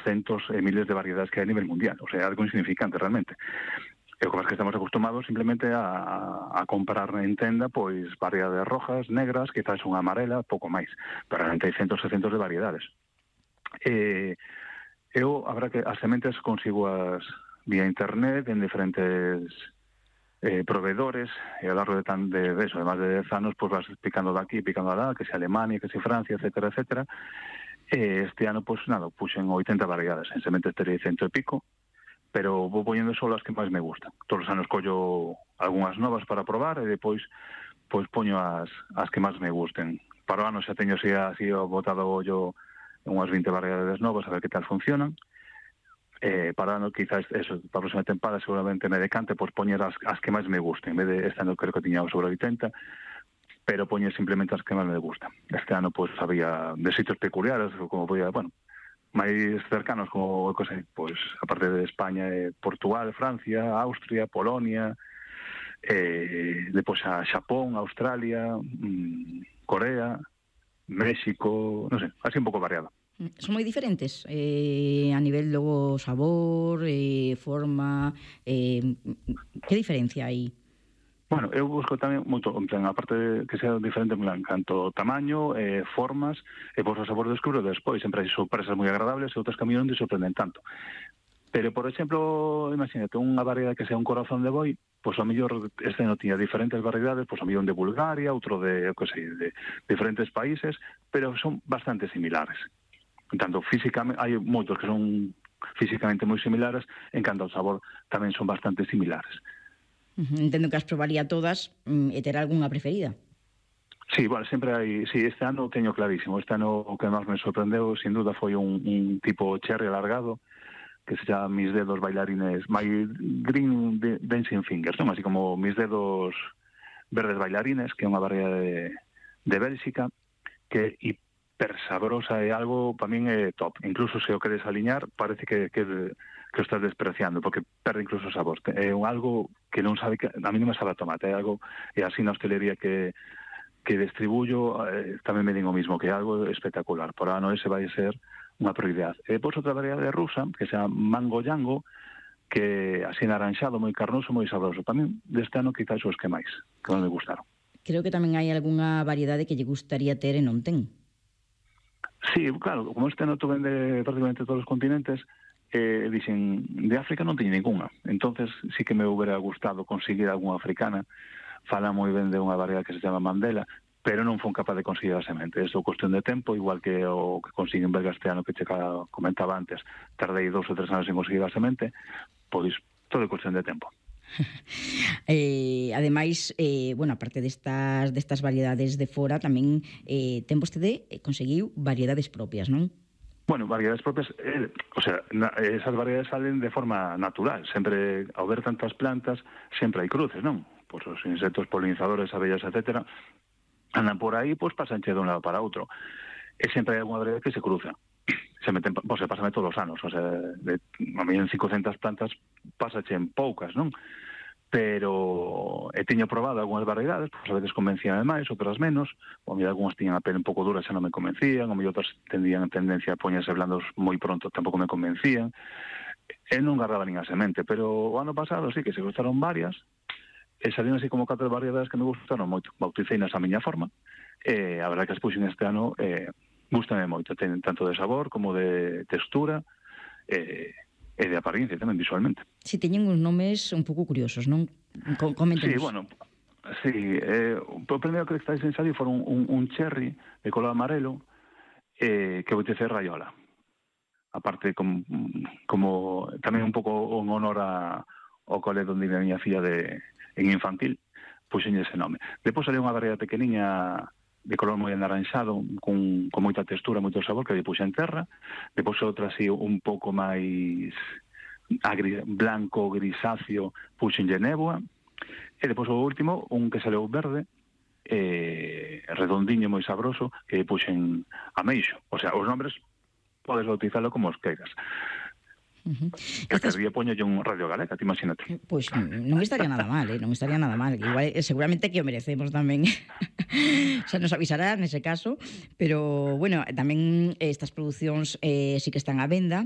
centos e miles de variedades que hai a nivel mundial. O sea, algo insignificante realmente. E o que estamos acostumados simplemente a comprar en tenda pois variedades rojas, negras, quizás unha amarela, pouco máis. Pero realmente hai centos e centos de variedades. Eu, a verdad que as sementes consigo as vía internet en diferentes proveedores, e ao largo de eso, de máis de 10 anos, pois vas picando daqui, picando alá, que se Alemania, que se Francia, etcétera, etcétera. Este ano, pois nada, puxen 80 variedades, en sementes terei 100 e pico, pero vou poñendo só as que máis me gustan. Todos os anos collo algunhas novas para probar e depois pois poño as que máis me gusten. Para o ano xa teño así botado o ollo en unhas 20 variedades novas a ver que tal funcionan. Para o ano quizás eso, para a próxima temporada seguramente me decante pois poñer as que máis me gusten. En vez de este ano creo que tiña sobre 80, pero poñer simplemente as que máis me gustan. Este ano pois había de sitios peculiares, como podía, bueno, máis cercanos como, pois, aparte de España, Portugal, Francia, Austria, Polonia, depois a Xapón, Australia, Corea, México, non sei, así un pouco variado. Son moi diferentes a nivel do sabor, forma, que diferencia hai? Bueno, eu busco tamén moito, en plan, aparte de que sea diferente en plan, canto tamaño, formas, e por o sabor descubro despois, sempre hai sorpresas moi agradables e outras que a mí non te sorprenden tanto. Pero, por exemplo, imagínate, unha variedade que sea un corazón de boi, pois a mellor este non tiña diferentes variedades, pois a mellor un de Bulgaria, outro de diferentes países, pero son bastante similares. En tanto, físicamente, hai moitos que son físicamente moi similares, en canto ao sabor tamén son bastante similares. Entendo que as probaría todas e terá algunha preferida. Sí, bueno, sempre hai... Sí, este ano teño clarísimo. Este ano o que máis me sorprendeu, sin duda, foi un tipo cherry alargado, que se chama Mis Dedos Bailarines, My Green Dancing Fingers, non? Así como Mis Dedos Verdes Bailarines, que é unha variedade de Bélxica, que é hiper sabrosa e algo, para min, é top. Incluso se o queres aliñar, parece que o estás despreciando, porque perde incluso o sabor. É algo que non sabe, que a mí non me sabe a tomate, é algo, e así na hostelería que distribuyo, tamén me digo o mismo, que é algo espectacular. Por ano ese vai ser unha prioridade. E depois outra variedade rusa, que se chama Mango Yango, que así naranxado, moi carnoso, moi sabroso. Para mí, deste ano, quizás os que máis, que non me gustaron. Creo que tamén hai algunha variedade que lle gustaría ter e non ten. Sí, claro, como este ano tú vende prácticamente todos os continentes, dixen, de África non teño ninguna. Entonces sí que me hubiera gustado conseguir algunha africana. Fala moi ben de unha variedade que se chama Mandela, pero non fon capaz de conseguir a semente. É cuestión de tempo, igual que o que consigue en belga este ano que che comentaba antes. Tardei 2 ou 3 anos en conseguir a semente, pois todo é cuestión de tempo. Ademais, bueno, aparte destas variedades de fora, tamén ten vostede conseguiu variedades propias, non? Bueno, variedades propias, o sea, esas variedades salen de forma natural. Sempre, ao ver tantas plantas, sempre hai cruces, non? Pois os insectos polinizadores, abellas, etcétera, andan por aí, pois pasanche de un lado para outro. E sempre hai alguna variedade que se cruza. Se pásame todos os anos, o sea, a mí en 500 plantas pásache en poucas, non? Pero teño probado algunhas variedades, pois a veces convencían máis, outras menos, ou a mí algunhas tiñan a pele un pouco dura, xa non me convencían, ou a mí outras tendían tendencia a poñerse blandos moi pronto, tampouco me convencían, e non agarraba nin a semente, pero o ano pasado sí que se gustaron varias, e salían así como 4 variedades que me gustaron moito, bauticeinas a miña forma, e a verdade que as puxen este ano, gustame moito, ten tanto de sabor como de textura, e de apariencia tamén visualmente. Si, teñen uns nomes un pouco curiosos, non? Coméntenos. Sí, bueno, sí, o primeiro que estáis en salir foron un cherry de color amarelo que boitece raiola. Aparte, como tamén un pouco en honor ao cole onde vive a miña filla en infantil, puxenlle ese nome. Depois saliu unha variedade pequeniña de color moi anaranxado, con moita textura, moito sabor, que lle puxen terra. Depois outra así un pouco máis blanco, grisáceo, puxenlle néboa. E depois o último, un que saleu verde, redondiño, moi sabroso, que puxen ameixo. O sea, os nombres podes bautizalo como os queiras. Que día poñolle un Radio Galega, te imagínate. Pois non estaría nada mal, non estaría nada mal. Igual, seguramente que o merecemos tamén. Xa nos avisará nese caso, pero, bueno, tamén estas producións sí que están á venda.